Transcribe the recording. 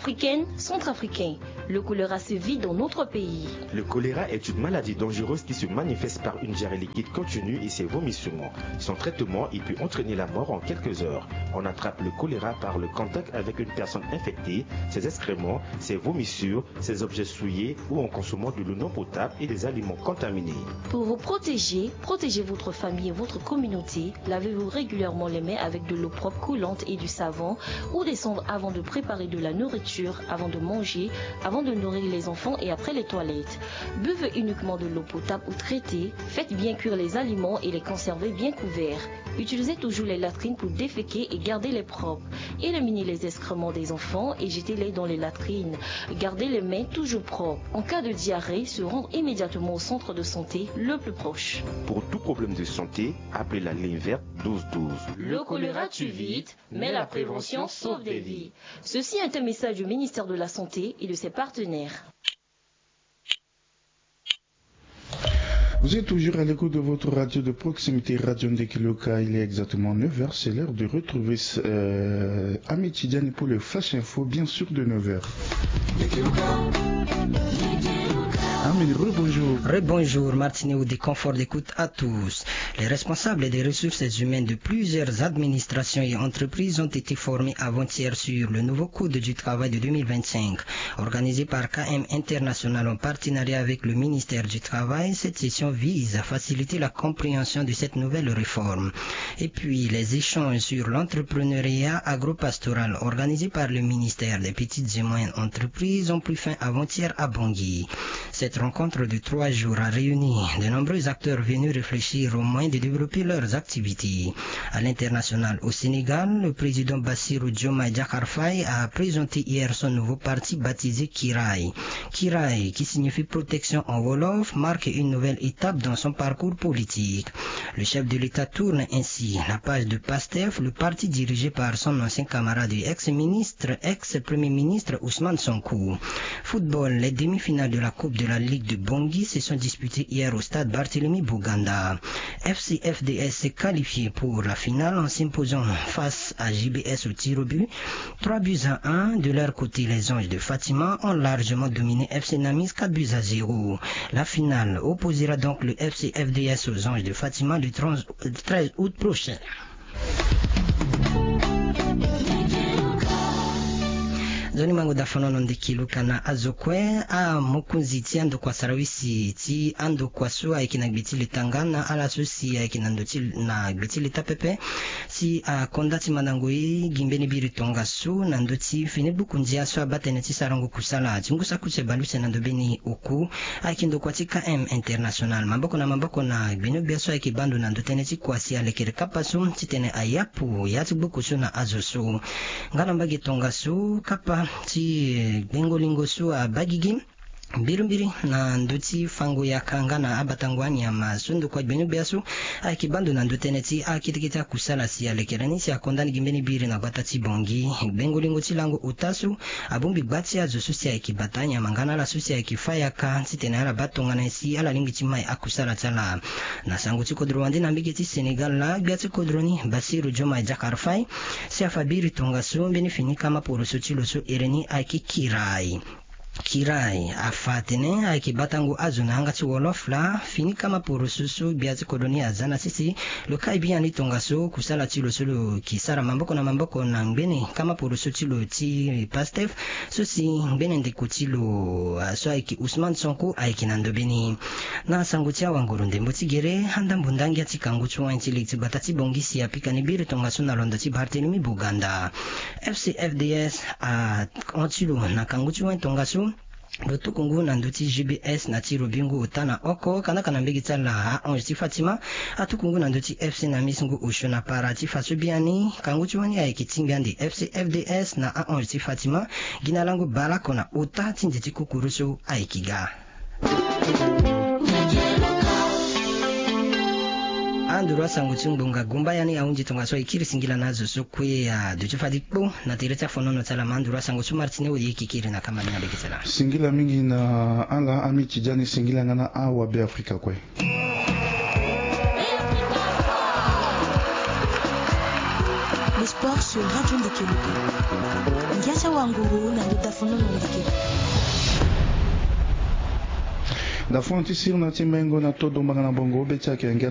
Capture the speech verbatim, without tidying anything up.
Africaine, centrafricain, le choléra sévit dans notre pays. Le choléra est une maladie dangereuse qui se manifeste par une diarrhée liquide continue et ses vomissements. Son traitement, il peut entraîner la mort en quelques heures. On attrape le choléra par le contact avec une personne infectée, ses excréments, ses vomissures, ses objets souillés ou en consommant de l'eau non potable et des aliments contaminés. Pour vous protéger, protégez votre famille et votre communauté. Lavez-vous régulièrement les mains avec de l'eau propre coulante et du savon ou des cendres avant de préparer de la nourriture, avant de manger, avant de nourrir les enfants et après les toilettes. Buvez uniquement de l'eau potable ou traitée. Faites bien cuire les aliments et les conservez bien couverts. Utilisez toujours les latrines pour déféquer et garder les propres. Éliminez les excréments des enfants et jetez-les dans les latrines. Gardez les mains toujours propres. En cas de diarrhée, se rendre immédiatement au centre de santé le plus proche. Pour tout problème de santé, appelez la ligne verte douze douze. Le choléra tue vite, mais la prévention sauve des vies. Ceci est un message du ministère de la Santé et de ses partenaires. Vous êtes toujours à l'écoute de votre radio de proximité, Radio Ndekiloka. Il est exactement neuf heures. C'est l'heure de retrouver euh, Ami Tidiane pour le Flash Info, bien sûr de neuf heures. Ami, rebonjour. Rebonjour, Martine, ou des conforts d'écoute à tous. Les responsables des ressources humaines de plusieurs administrations et entreprises ont été formés avant-hier sur le nouveau Code du travail de deux mille vingt-cinq. Organisée par K M International en partenariat avec le ministère du Travail, cette session vise à faciliter la compréhension de cette nouvelle réforme. Et puis, les échanges sur l'entrepreneuriat agropastoral organisés par le ministère des Petites et Moyennes Entreprises ont pris fin avant-hier à Bangui. Cette rencontre de trois jours a réuni de nombreux acteurs venus réfléchir aux moyens de développer leurs activités. À l'international, au Sénégal, le président Bassirou Diomaye Diakhar Faye a présenté hier son nouveau parti baptisé Kiraay. Kiraay, qui signifie protection en wolof, marque une nouvelle étape dans son parcours politique. Le chef de l'État tourne ainsi la page de PASTEF, le parti dirigé par son ancien camarade et ex-ministre, ex-premier ministre Ousmane Sonko. Football, les demi-finales de la Coupe de la Ligue de Bangui se sont disputées hier au stade Barthélemy Boganda. F C F D S s'est qualifié pour la finale en s'imposant face à J B S au tir au but. Trois buts à un. De leur côté, les Anges de Fatima ont largement dominé F C Namis, quatre buts à zéro. La finale opposera donc le F C F D S aux Anges de Fatima le trente, le treize août prochain. Nzoni mango da fanono ndeki luka na azo kue. Amokonzi ti andokua sarawisi ti andokua so ayeke na gbe ti leta nga na ala so si ayeke na ndo ti na gbe ti leta pepe si akonda ti mandango ye gi mbeni biri tongaso na ndö ti fini gbuku ndia so abaa tënë ti sarango kusala ti ngu saki use baleuse na ndo mbeni oku. Ayeke ndokua ti K M International maboko na maboko na gbeni ogbia so ayeke baa ndo na ndo tënë ti kua si alekere kapa so titene ayapu ya ti gbuku so na azo so. Nga na mbage tongaso kapa ti gbengo lingo so abaa gigi mbirimbiri na ndö ti fango yaka nga na abatango anyama so ndokua gbeni ogbia so ayeke baa ndo na ndö tënë ti akete kete akusala si alekere ni si akonda ni gi mbeni biri na gbata ti Bangui. Gbengo lingo ti lango ota so abongbi gba ti azo so si ayeke bata anyama nga na ala so si ayeke fâ yaka titene ala baa tongana nyen si ala lingbi ti mai akusala ti ala. Na sango ti kodro wande na mbage ti Sénégal laa gbia ti kodro ni Bassirou Diomaye Diakhar Faye si afa biri tongaso mbeni fini kama poroso ti lo so ere ni ayeke Kiraay. Kiraay afa atene ayeke batango azo na yanga ti wolof laa fini kama poroso so gbia ti kodro ni aza na sese. Lo kai biani tongaso kusala ti lo so lo yeke sara maboko na maboko na ngbene kama poroso ti lo ti Pastef so si ngbene ndeko ti lo so ayeke Ousmane Sonko ayeke na ndo mbeni. Na sango ti awanguru ndembo ti gere, andambo ndangia ti kangu ti wani ti lege ti gbata ti Bangui si apika ni biri tongaso na londo ti Barthélemy Boganda. F C F D S ahon ti lo na kangu ti wani tongaso. Lo tuku ngu na ndö ti G B S na ti Robingu ota na oko kandaka na mbege ti ala ahonge ti Fatima. Atuku ngu na ndö ti F C Namis ngu osio na para ti fa so biani kangu ti wani ayeke tingbi ande F C F D S na ahonge ti Fatima. Gi na lango baleoko na ota ti nze ti kukuru so ayeke ga. Anduru asango ti ngbonga gumba yani ahunzi tongaso aye kiri singila na azo so kue aduti fadi kpo na tere ti afonono ti ala ma anduru asango so Martine Oye yeke kiri na kama ni na lege ti ala. Singila mingi na ala ami Tidiane, singila nga na awa Be Afrika kue. Le sport sur Radio Ndekeluka. Ngia ti awanguru na ndö ti Ndafon ti sirna ti mengo na todo mbanga na bongo be ti akenge.